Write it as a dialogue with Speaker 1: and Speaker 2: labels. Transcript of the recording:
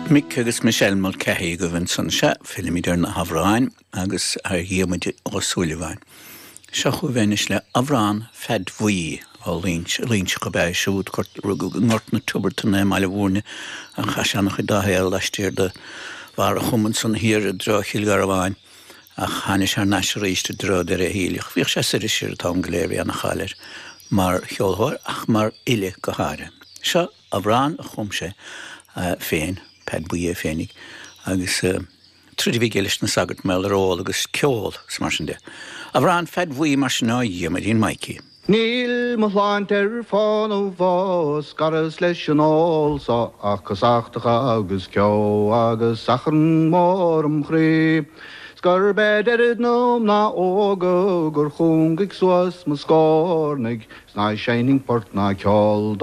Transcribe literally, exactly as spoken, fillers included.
Speaker 1: Mick agus Michelle Mulcahy go bhinn san se fillimid ar na hamhráin agus ar Dhiarmuid Ó Súilleabháin. Seo bhenis le amhrán Pheaid Bhuí ó Luínseach ab ea siúd rugadh i nGort na Tiobartan i mBaile Bhúirne a chaith sé an-chuid dá shaol laistiar de Bharr an Chumainn san thiar i dtreo Chill Gharbháin ach tháinig sé thar n-ais arís i dtreo deireadh a shaoil. Bhíodh sé soir is siar an t-am go léir bhí an-cháil air mar cheoltóir ach mar fhile go háirithe. Seo amhrán a chum sé féin Peaid Buí é féinig agus uh, troid a bhí leis na sagairt mar ól agus ceol mar sin de. Amhrán Pheaid Bhuí mar sin ó Dhiarmuidín Maidhcí.
Speaker 2: Níl mo shláinte ar fán ó bhás scaras leis an ól so ach casachtacha agus ceo agus achrann mór im chroí. Sgur be deireadh na mná óga gur chúngaigh suas mo scornaigh, 's ná seinnfinn port ná ceol